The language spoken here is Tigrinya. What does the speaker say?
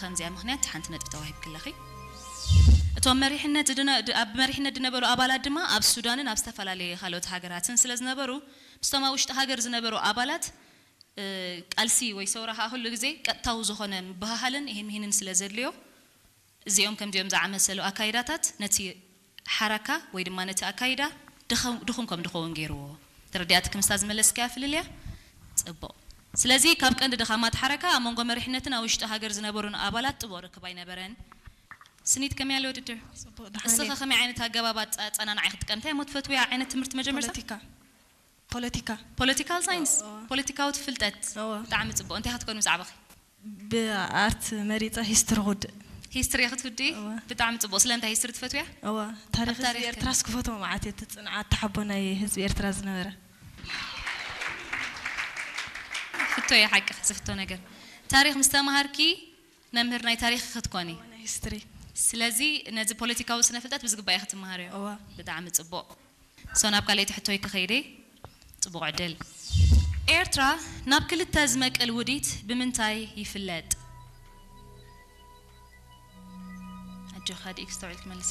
ከምዚኣ ምኽንያት ሓንቲ ነጥቢ ተዋሂብኪ ኣለኺ። እቶም መሪሕነት ዝድነ- ድ- ኣብ መሪሕነት ዝነበሩ ኣባላት ድማ ኣብ ሱዳንን ኣብ ዝተፈላለየ ካልኦት ሃገራትን ስለ ዝነበሩ ምስቶም ኣብ ውሽጢ ሃገር ዝነበሩ ኣባላት እ፣ ቃልሲ ወይ ሰውራ ከዓ ኩሉ ግዜ ቀጥታዊ ዝኾነ ምብህሃልን ይህን ምሂንን ስለ ዘድልዮ እዚኦም ከምዚኦም ዝኣመሰሉ ኣካይዳታት ነቲ ሓረካ ወይ ድማ ነቲ ኣካይዳ ድኸ- ድኹም ከም ድኸውን ገይርዎ። ተረዲኣትኪ ምስታ ዝመለስካያ ፍልልያ? ጽቡቕ። ስለዚ ካብ ቀንዲ ድኻማት ሓረካ ኣብ መንጎ መሪሕነትን ኣብ ውሽጢ ሃገር ዝነበሩን ኣባላት ጥቡቕ ርክብ ኣይነበረን። ስኒት ከመይ ኣሎ ውድድር? ጽቡቕ፣ ደሓን እስኸ እየ። ከመይ ዓይነት ኣገባብ ኣጻ- ኣጸናንዓ ኢኺ ትጥቀም? እንታይ እሞ ትፈትውያ ዓይነት ትምህርቲ መጀመርታ? ፖለቲካ። ፖለቲካ። ፖለቲካል ሳይንስ፣ እዋ። ፖለቲካዊ ትፍልጠት። እዋ። ብጣዕሚ ጽቡቕ። እንታይ ክትኮኒ ምስ ዓበኺ? ብኣርት መሪጸ ሂስትሪ ክውድእ። ሂስትሪ ክትውድኢ? እዋ። ብጣዕሚ ጽቡቕ። ስለምንታይ ሂስትሪ ትፈትውያ? እዋ፣ ታሪኽ ኣብ ታሪኽ ህዝቢ ኤርትራስ ክፈትዎ መዓት እየ፣ እቲ ጽንዓት ተሓቦ ናይ ህዝቢ ኤርትራ ዝነበረ። ፍቶ እየ ሓቂ ዝፍቶ ነገር። ታሪኽ ምስ ተማሃርኪ መምህር ናይ ታሪኽ ክትኮኒ። ናይ ሂስትሪ። ስለዚ ነዚ ፖለቲካዊ ስነ ፍልጠት ብዝግባእ ክትመሃርዮ። እዋ። ብጣዕሚ ጽቡቕ። ሶ ናብ ካልኣይቲ ሕቶይ ክኸይደ። ጽቡቕ ዕድል። ኤርትራ ናብ ክልተ ዝመቅል ውዲት ብምንታይ ይፍለጥ? ኣጆኻ ዲኢክ ስተውዒልክ መልሲ።